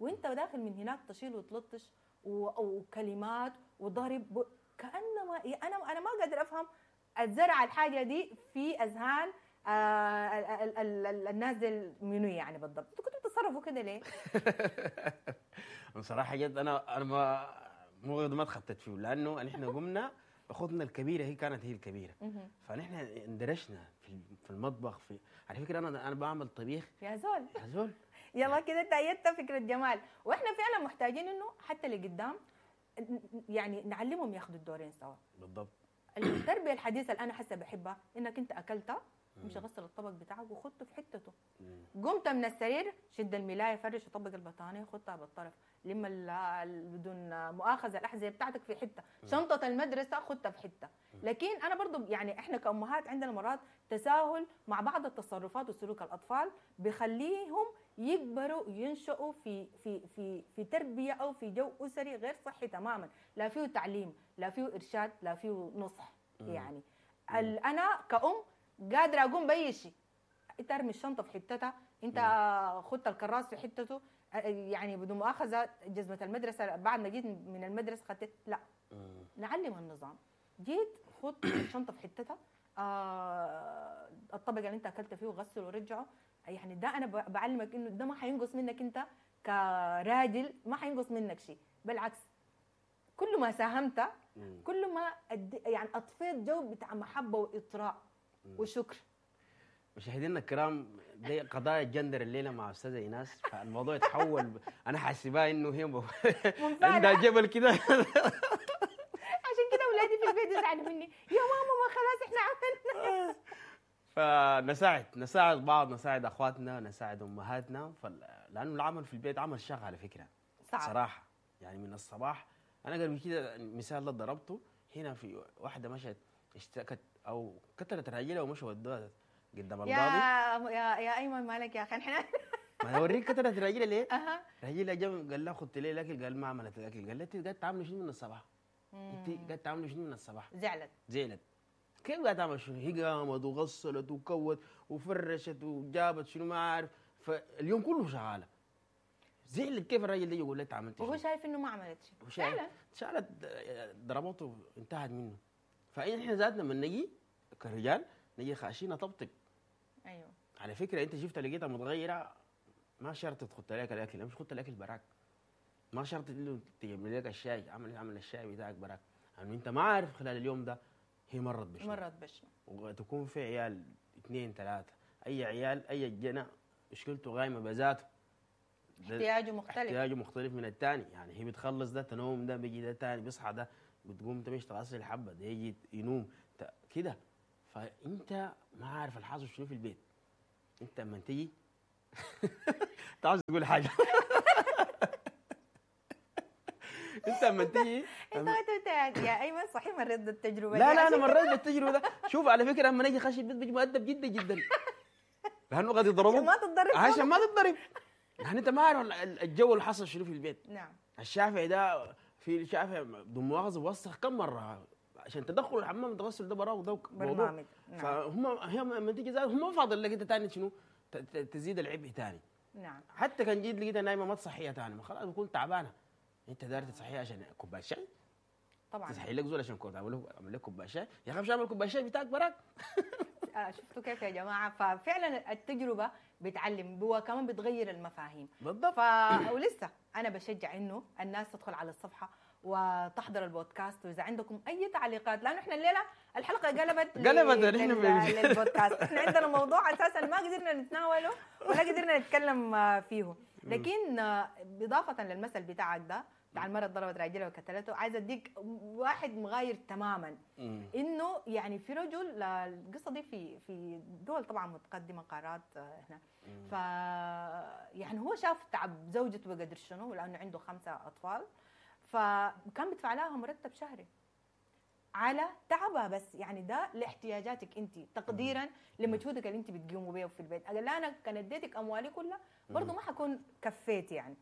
وانت داخل من هناك تشيل وتلطش وكلمات وضرب، كانما انا انا ما قادر افهم الزرع الحاجة دي في اذهان آه ال ال ال النازل منو يعني بالضبط. انتوا كنتوا بتتصرفوا كده ليه؟ بصراحة جد انا انا ما مو ما تخطيت فيه، لانه نحن قمنا اخوتنا الكبيرة هي كانت هي الكبيرة، فنحن اندرشنا في في المطبخ. في على فكرة انا انا بعمل طبيخ يا زول يا زول يلا كده تأيدت فكرة جمال. واحنا فعلا محتاجين انه حتى لقدام يعني نعلمهم ياخذوا الدورين سوا. بالضبط. التربية الحديثة اللي انا حاسه بحبها انك انت اكلتها مش غسل الطبق بتاعك وخدته في حتته، قمت من السرير شد الملايه، فرش وطبق البطانيه خدتها بالطرف، لما بدون مؤاخذة الاحذية بتاعتك في حتة، شنطه المدرسة خدتها في حتة. لكن انا برضو يعني احنا كامهات عندنا مرات تساهل مع بعض التصرفات وسلوك الاطفال بخليهم يكبروا ينشأوا في في في في تربيه او في جو اسري غير صحي تماما، لا فيه تعليم، لا فيه ارشاد، لا فيه نصح. يعني انا كأم قادرة اقوم باي شيء، انت ارمي الشنطة في حتتها، انت خدت الكراس في حتته، يعني بدون مؤاخذة جزمه المدرسة بعد ما جيت من المدرسة خدت، لا نعلم النظام. جيت خد الشنطة في حتتها، آه الطبق اللي انت اكلت فيه وغسله ورجعه. يعني ده انا بعلمك انه ده ما حينقص منك انت كراجل، ما حينقص منك شيء، بالعكس كل ما ساهمت كل ما يعني اطفيت جو بتاع محبة واطراء وشكر. مشاهدينا الكرام، دي قضايا الجندر الليلة مع استاذه ايناس، فالموضوع يتحول ب... انا حاسبها انه هي ب... عندها جبل كده. عشان كده اولادي في البيت يزعلوا مني، يا ماما ما خلاص احنا عملنا. فنساعد نساعد بعض، نساعد اخواتنا، نساعد امهاتنا، فل... لانه العمل في البيت عمل شاق على فكرة. صعب صراحة، يعني من الصباح انا قبل كده المثال اللي ضربته هنا، في واحدة مشت اشتكت او كتلت راجلها ومشوا ودوها قدام القاضي. يا يا يا ايمن مالك يا اخي احنا ما اوريك كتلت راجلها ليه؟ اها راجلها جا قال لها خدت ليه الاكل؟ قال ما عملت الاكل. قال لها انت قاعد تعملي شنو من الصباح؟ انت قاعد تعملي شنو من الصباح؟ زعلت زعلت. كيف قاعد تعمل شنو؟ هي قامت وغسلت وكوت وفرشت وجابت شنو ما عارف، فاليوم كله شغالة. زعلت كيف الراجل ده يقول لها انت عملت وهو شايف انه ما عملت شيء. فعلا شالت ضربته انتهت منه. فاحنا ذاتنا لما نجي كرجال نجي خاشين نطبطب. ايوه على فكرة انت شفت لقيتها متغيرة، ما شرط تخط لك الاكل، مش خط الاكل براك، ما شرط انه تجيب لك الشاي، عمل عمل الشاي بتاعك براك، لانه يعني انت ما عارف خلال اليوم ده هي مرت بشنو، مرت بشنو، وتكون في عيال اثنين ثلاثة، اي عيال اي جنى مشكلته قايمة بذاته. ده احتياجه مختلف. احتياجه مختلف من الثاني. يعني هي بتخلص ده تنوم، ده بيجي ده تاني بيصحى، ده بتقوم تمشي تغسل حبه، ده يجي ينوم كده. فانت ما عارف الحاصل شنو في البيت. انت لما تيجي انت عاوز تقول حاجة. انت لما تيجي انت انت يا ايمن صحيح مريت بالتجربة. لا لا انا مريت بالتجربة ده. شوف على فكرة لما نجي خش البيت بيجي مؤدب جدا جدا، لانه قد يضربوك عشان ما تتضرب، عشان ما تتضرب. يعني انت ما عارف الجو اللي حصل شنو في البيت. نعم. الشافعي ده في الشافعي بدون مؤاخذة وسخ كم مرة عشان تدخل الحمام تغسل ده براه وده برنامج. نعم. فهم هي لما تيجي هم ما فاضل لك انت ثاني شنو تزيد العبء ثاني. نعم. حتى كان جيت لقيتها نايمة ما تصحيها ثاني، ما خلاص بكون تعبانة. انت داير تصحيها عشان كوباية شاي؟ طبعا. تصحي لك زول عشان اعمل له اعمل لك كوباية شاي؟ يا اخي مش اعمل كوباية شاي بتاعك براك. شفتوا كيف يا جماعة؟ ففعلا التجربة بتعلم وكمان بتغير المفاهيم. بالضبط. ف... ولسه انا بشجع انه الناس تدخل على الصفحة وتحضر البودكاست، واذا عندكم اي تعليقات، لانه احنا الليلة الحلقة قلبت قلبت لل... للبودكاست. احنا عندنا موضوع اساسا ما قدرنا نتناوله ولا قدرنا نتكلم فيه، لكن باضافة للمثل بتاعك ده بتاع المرة ضربت راجلها وقتلته، عايزه اديك واحد مغاير تماما. انه يعني في رجل، القصة دي في في دول طبعا متقدمة قارات هنا، ف يعني هو شاف تعب زوجته بقدر شنو، لانه عنده خمسة اطفال، فكان بيدفع لها مرتب شهري على تعبها بس، يعني ده لاحتياجاتك انت، تقديرا لمجهودك اللي انت بتقوموا بيه في البيت. قال لها انا كان اديتك اموالي كلها برضه ما حكون كفيت يعني.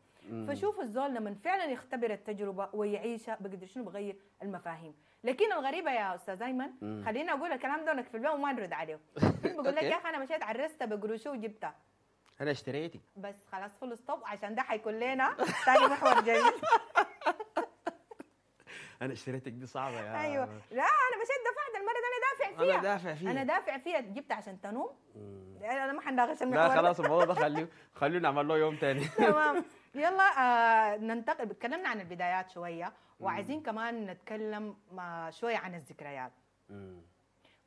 فشوفوا الزول لما فعلا يختبر التجربة ويعيشها بقدر شنو بغير المفاهيم. لكن الغريبة يا استاذ ايمن، خليني اقول الكلام ده في البيت وما نرد عليه. بقول لك يا اخي انا مشيت عرست بقروشه وجبتها، انا اشتريتك بس خلاص full stop، عشان ده حيكون لنا ثاني محور جميل. انا اشتريتك دي صعبة يا ايوه. لا انا مشيت دفعت المرة دي، انا دافع فيها، انا دافع فيها، انا دافع فيها، جبت عشان تنوم. انا ما حنناقش المحور. لا خلاص الموضوع ده خليه خلينا نعمل له يوم ثاني. تمام. يلا آه ننتقل. تكلمنا عن البدايات شوية، وعايزين كمان نتكلم شوية عن الذكريات.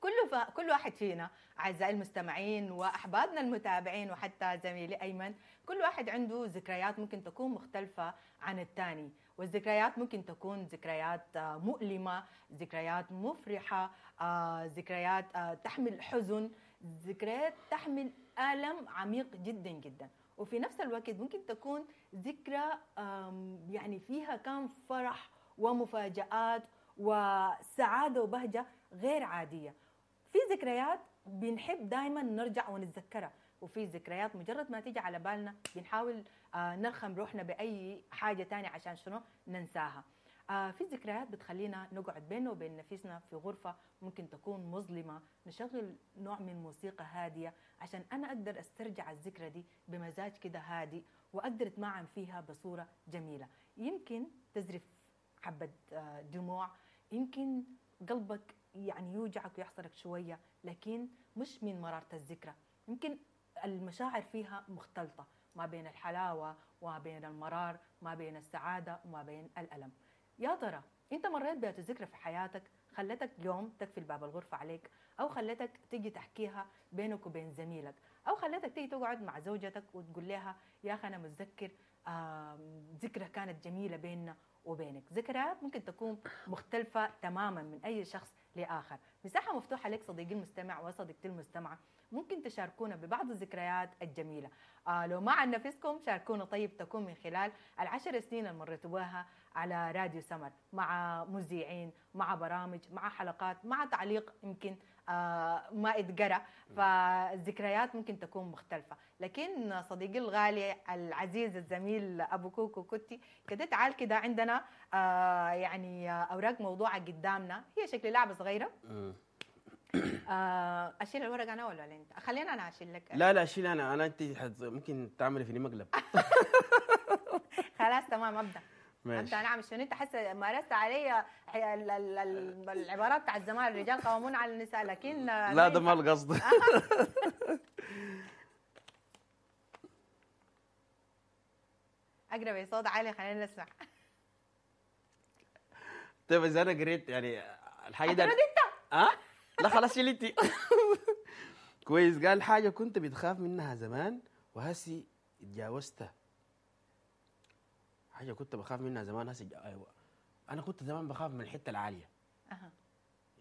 كل ف... كل واحد فينا اعزائي المستمعين واحبابنا المتابعين وحتى زميلي ايمن، كل واحد عنده ذكريات ممكن تكون مختلفة عن الثاني، والذكريات ممكن تكون ذكريات مؤلمة، ذكريات مفرحة، ذكريات تحمل حزن، ذكريات تحمل الم عميق جدا جدا، وفي نفس الوقت ممكن تكون ذكرى يعني فيها كان فرح ومفاجآت وسعادة وبهجة غير عادية. في ذكريات بنحب دائما نرجع ونتذكرها، وفي ذكريات مجرد ما تيجي على بالنا بنحاول نرخم روحنا بأي حاجة تانية عشان شنو ننساها. في ذكريات بتخلينا نقعد بيننا وبين نفسنا في غرفة ممكن تكون مظلمة، نشغل نوع من موسيقى هادية عشان أنا أقدر أسترجع الذكرى دي بمزاج كده هادي وأقدر أتمعن فيها بصورة جميلة. يمكن تزرف حبة دموع، يمكن قلبك يعني يوجعك ويحصرك شوية، لكن مش من مرارة الذكرى. يمكن المشاعر فيها مختلطة ما بين الحلاوة وما بين المرار، ما بين السعادة وما بين الألم. يا ترى انت مريت بهذه الذكرى في حياتك خلتك يوم تقفل باب الغرفة عليك، أو خلتك تيجي تحكيها بينك وبين زميلك، أو خلتك تيجي تقعد مع زوجتك وتقول لها يا أخي أنا متذكر ذكرى كانت جميلة بيننا وبينك. ذكريات ممكن تكون مختلفة تماما من أي شخص لآخر. مساحة مفتوحة لك صديقي المستمع وصديقتي المستمعة، ممكن تشاركونا ببعض الذكريات الجميلة. آه لو ما عن نفسكم شاركونا، طيب تكون من خلال العشر سنين اللي مريتوا بها على راديو سمر، مع مذيعين، مع برامج، مع حلقات، مع تعليق يمكن آه ما اتقرأ. فالذكريات ممكن تكون مختلفة. لكن صديقي الغالي العزيز الزميل أبو كوكو كوتي كده، تعال كده عندنا آه يعني أوراق موضوعة قدامنا، هي شكل لعبة صغيرة. آه أشيل الورق أنا ولا أنت؟ خلينا أنا أشيل لك. لا لا أشيل أنا، أنا أنت ممكن تعملي فيني مقلب. خلاص تمام أبدأ. ماشي. أنا أعمل شنو؟ أنت حاسة مارست علي العبارات بتاع الزمان، الرجال قوامون على النساء، لكن لا ده ما القصد. أقرأ بصوت عالي خلينا نسمع. طيب إذا أنا قريت يعني الحاجة ده أنت؟ أه؟ لا خلاص شلتي. كويس. قال حاجة كنت بتخاف منها زمان وهسي اتجاوزتها. حاجة كنت بخاف منها زمان هسه ايوه، انا كنت زمان بخاف من الحتة العالية. أه.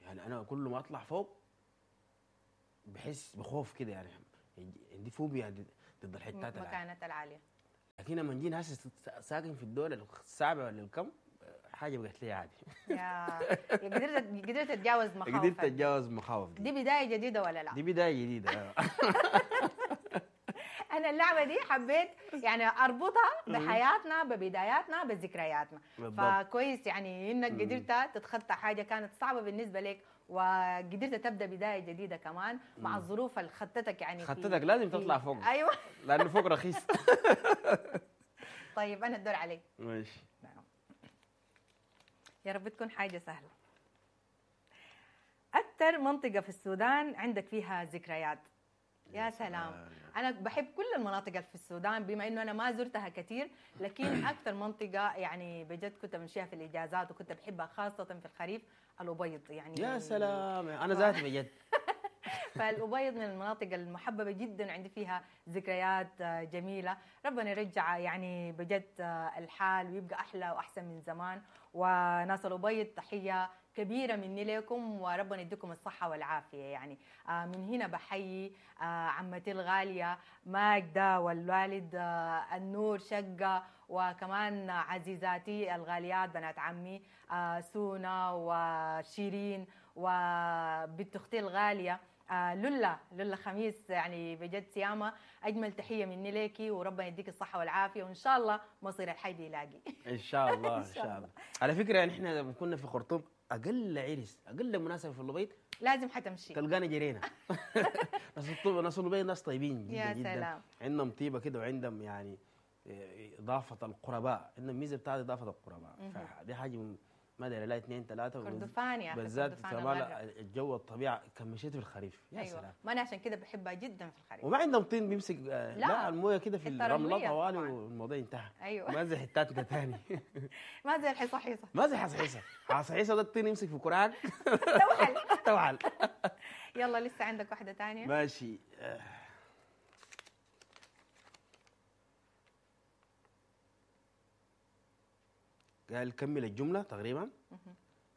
يعني انا كل ما اطلع فوق بحس بخوف كده، يعني عندي فوبيا ضد الحتات العالية، المكانات العالية. لكن لما جينا هسه ساكن في الدولة السابعة ولا الكم، حاجة بقت لي عادي. يا قدرت قدرت تتجاوز مخاوفك. قدرت اتجاوز مخاوف دي. دي بداية جديدة ولا لا؟ دي بداية جديدة. انا اللعبة دي حبيت يعني اربطها بحياتنا، ببداياتنا، بذكرياتنا. فكويس يعني انك قدرت تتخطى حاجة كانت صعبة بالنسبة لك، وقدرت تبدا بداية جديدة كمان مع الظروف اللي خطتك، يعني خطتك لازم تطلع فوق. ايوه لانه فوق رخيص. طيب انا الدور علي. ماشي. يا رب تكون حاجة سهلة. اكثر منطقة في السودان عندك فيها ذكريات؟ يا سلام، انا بحب كل المناطق اللي في السودان بما انه انا ما زرتها كثير، لكن اكثر منطقة يعني بجد كنت بمشيها في الاجازات وكنت بحبها خاصة في الخريف، الابيض. يعني يا سلام، انا ذاتي بجد. فالابيض من المناطق المحببة جدا، عندي فيها ذكريات جميلة. ربنا يرجع يعني بجد الحال ويبقى احلى واحسن من زمان. وناس الابيض تحية كبيرة مني لكم، وربنا يديكم الصحة والعافية. يعني من هنا بحيي عمتي الغالية ماجدة والوالد النور شقة، وكمان عزيزاتي الغاليات بنات عمي سونا وشيرين، وبنت أختي الغالية لولا لولا خميس. يعني بجد سيامة أجمل تحية مني ليكي، وربنا يديك الصحة والعافية، وإن شاء الله مصير الحي بيلاقي. إن شاء الله. إن شاء الله. على فكرة يعني إحنا لما كنا في خرطوم أقل عرس، أقل مناسبة في البيت لازم حتمشي تلقانا جرينا. ناس الطب ناس البيت ناس طيبين جدا. يا جدا. سلام. عندهم طيبة كده، وعندهم يعني إضافة القرباء، عندهم ميزة بتاعت إضافة القرباء، فدي حاجة ما ادري لا اثنين ثلاثة. كردفان يا اخي، بالذات كمان الجو الطبيعة كان مشيت في الخريف. يا أيوة. سلام. ما انا عشان كده بحبها جدا في الخريف. وما عندهم طين بيمسك، لا, لا المويه كده في الرملة طوالي والموضوع انتهى. ايوه ما زي حتاتنا ثاني. ما زي الحصحيصه. ما زي حصحيصه، حصحيصه ده الطين يمسك في كراعك. توحل توحل. يلا لسه عندك واحدة ثانية؟ ماشي. قال كمل الجملة تقريبا.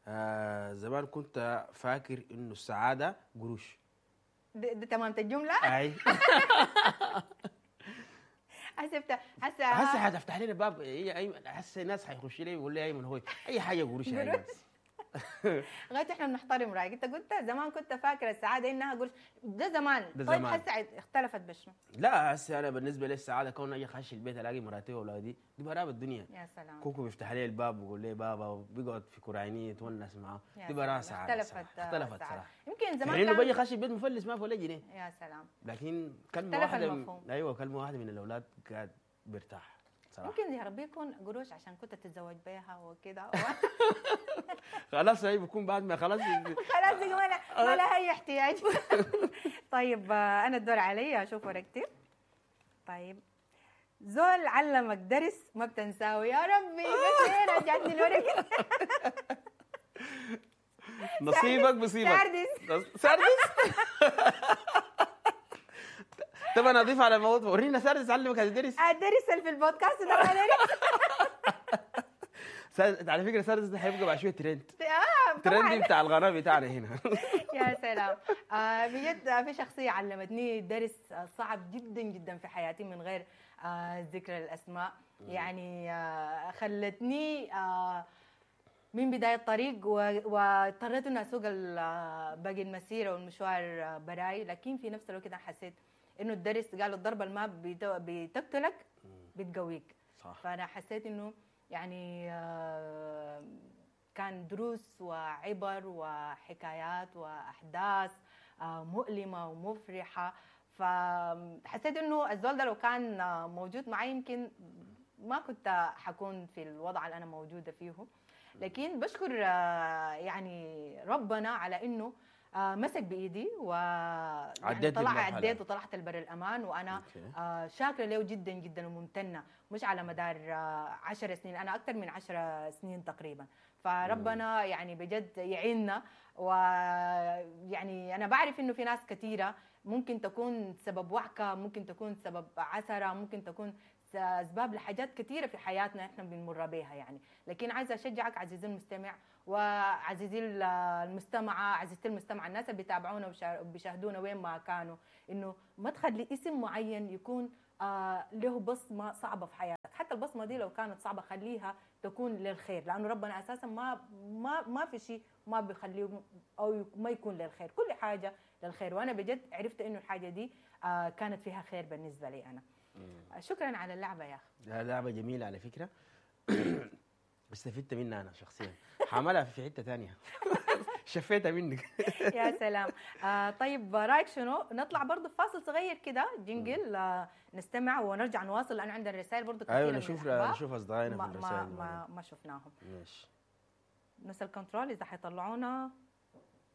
آه زمان كنت فاكر انه السعادة قروش. ده, ده تمامة الجملة؟ اي. حسبت هسه هسه حتفتح لنا باب. اي هسه الناس حيخش لي ويقول لي ايمن هو اي حاجة قروش. قروش. لغاية احنا بنحترم رايك. انت قلت زمان كنت فاكره السعادة انها قروش، ده زمان. ده طيب زمان. هسه اختلفت بشنو؟ لا هسه انا بالنسبة لي السعادة كون اجي اخش البيت الاقي مراتي واولادي، دي براب الدنيا. يا سلام. كوكو بيفتح لي الباب ويقول لي بابا، وبيقعد في كرعيني يتونس معاه، دي براها سعادة. اختلفت اختلفت صراحة. يمكن زمان كان بيجي خش البيت مفلس ما في ولا جنيه. يا سلام. لكن كلمة واحدة من... ايوه كلمة واحدة من الاولاد قاعد بيرتاح صراحة. ممكن يا ربي يكون قروش عشان كنت تتزوج بيها وكده. خلاص هي بيكون بعد ما خلاص خلاص ما لها ما لها اي احتياج. طيب انا الدور علي اشوف ورقتي. طيب زول علمك درس ما بتنساه. يا ربي بس ليه رجعتني الورقة؟ نصيبك بصيبك. ساردس. ساردس. طب انا اضيف على الموضوع، ورينا ساردس علمك هذا الدرس. الدرس اللي في البودكاست ده ما درس. على فكرة ساردس ده حيبقى بعد شوية ترند. اه ترند بتاع القناة بتاعنا هنا. يا سلام. آه بجد في شخصية علمتني درس صعب جدا جدا في حياتي من غير آه ذكر الاسماء. يعني آه خلتني آه من بداية الطريق، واضطريت اني اسوق باقي المسيرة والمشوار براي، لكن في نفس الوقت انا حسيت انه الدرس، قالوا الضربة اللي ما بتقتلك بتقويك. صح. فانا حسيت انه يعني كان دروس وعبر وحكايات واحداث مؤلمة ومفرحه، فحسيت انه الزول ده لو كان موجود معي يمكن ما كنت حكون في الوضع اللي انا موجودة فيه. لكن بشكر يعني ربنا على انه مسك بايدي و يعني طلع عديت وطلعت البر الامان، وانا okay. شاكرة له جدا جدا وممتنه، مش على مدار عشر سنين، انا اكثر من عشر سنين تقريبا. فربنا يعني بجد يعيننا. ويعني انا بعرف انه في ناس كثيرة ممكن تكون سبب وعكه، ممكن تكون سبب عثره، ممكن تكون س- اسباب لحاجات كثيرة في حياتنا احنا بنمر بيها يعني. لكن عايزه اشجعك عزيزي المستمع وعزيزي ال- المستمعة، عزيزتي المستمعة، الناس اللي بيتابعونا وبيشا- وبيشاهدونا وين ما كانوا، انه ما تخلي اسم معين يكون آه له بصمة صعبة في حياتك. حتى البصمة دي لو كانت صعبة خليها تكون للخير، لانه ربنا اساسا ما ما ما في شيء ما بيخليه او ما يكون للخير، كل حاجة للخير. وانا بجد عرفت انه الحاجة دي آه كانت فيها خير بالنسبة لي انا. آه، شكرا على اللعبة يا اخي. لا، لعبه جميلة على فكرة، استفدت منها انا شخصيا، حعملها في حتة ثانية، شفيتها منك. يا سلام. آه طيب رايك شنو نطلع برضه فاصل صغير كده jingle، آه نستمع ونرجع نواصل، لانه عندنا رسائل برضه كثيرة ايوه من نشوف الأحباب. نشوف اصدقائنا ما في الرسائل. ما ما, ما شفناهم. ماشي. ناس ال control اذا حيطلعونا.